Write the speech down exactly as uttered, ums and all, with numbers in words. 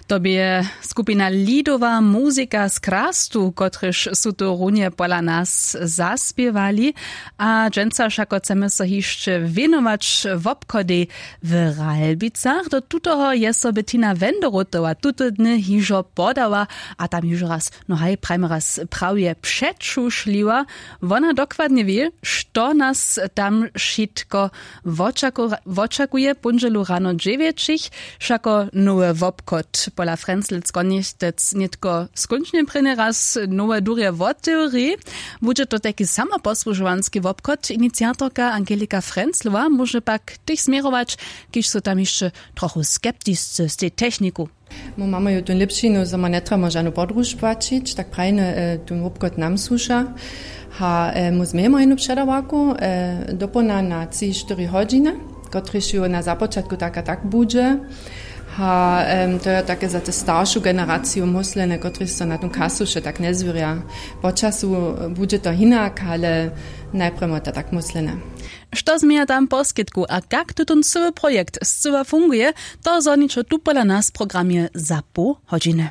To bě skupina Lidowa muzika z Krastu, kotryž su to runje pola nas zaspěwali. A dźensa wšako chcemy so hišće wěnować wobchodej w Ralbicach. Do tutoho je so Bettina Wenderotowa tute dny hižo podała a tam hižo raz, no haj, prajmy raz, prawje přećušliła. Wona dokładnje wě, što nas tam wšitko wočakuje póndźelu rano dźewjećich. Wšako nowy wobchod pola Frenzlec konjechtec nětko skónčnje prěnje raz nowe durje wotewri. Budźe to tajki samoposłužowanski wobchod. Iniciatorka Angelika Frenzlowa móže pak tež změrować, kiž su tam hišće trochu skeptisce z tej techniku. My mamy ju tón lěpšinu, zo ma njetrjebamy žanu podruž płaćić, tak prajny, tón wobchod nam słuša. A my změjemy jednu předawarku, dopołdnja na tři štyri hodźiny, kotryž ju na započatku tak a tak budźe. A to je take za te staršu generaciju móslene, kotryž so na tón kasu wše tak njezwěrja. Po času budźe to hinak, ale najprjedy to tak móslene. Što změja tam poskitku a kak tutón cyły projekt scyła funguje, to zhoniće tu pola nas w programje za poł hodźiny.